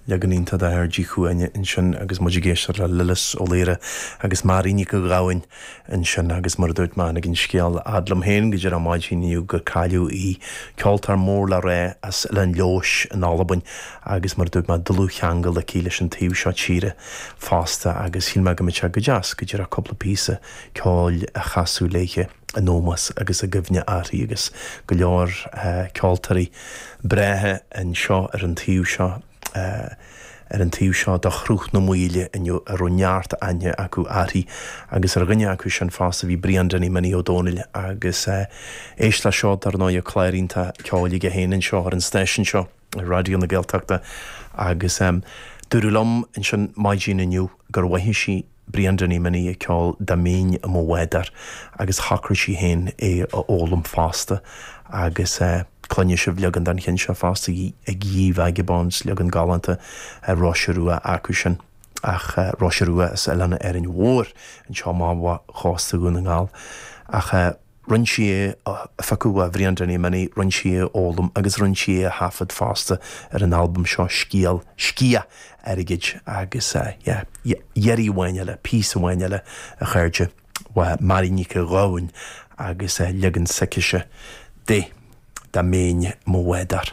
Leagan iontach de Fhear Díchuaine ansin agus muid ag éisteacht le Lillis Ó Laoire agus Mary Nic a' Ghabhainn ansin agus mar a dúirt mé tháinig an scéal fhad liom féin go deireadh maidin inniu gur cailleadh í, ceoltóir mór le rá as Oileán Leodhais in Albain agus mar a dúirt mé dlúthcheangal aici leis an taobh seo tíre fosta agus shíl mé go mbeadh sé go deas go díreach cúpla píosa ceoil a chasadh léithe. in ómós agus i gcuimhne uirthi agus go leor ceoltóirí breátha anseo ar an taobh seo ar an taobh seo de Shruth na Maoile inniu a raibh neart aithne acu uirthi agus ar dhuine acu sin fosta bhí Brian Danny Minnie Ó Dónaill agus éist leis seo dar ndóigh clár iontach ceoil aige féin anseo ar an stáisiún seo ar Raidió na Gaeltachta agus dúradh liom ansin maidin inniu gur mhoithigh sí Brian Danny Minnie ag ceol Dá mbeinn i mo bhádóir agus shocraigh sí féin é a fhoghlaim fosta agus cluinfidh sibh leagan den cheann seo fosta ag Ye Vagabonds, leagan galánta ar Róise Rua acu sin ach Róise Rua as Oileán Árainn Mhór anseo amach ó chósta Dhún na nGall ach Rinne sí é a phiocadh ó Bhrian Danny Minnie, rinne sí é a fhoghlaim agus rinne sí é a thaifead fosta ar an albam seo Scéal, Sciath Airgid agus yeah, iarraidh amháin eile, píosa amháin eile a chairde, ó Mary Nic a' Ghabhainn agus leagan s'aicise de Dá mbeinn i mo bhádóir.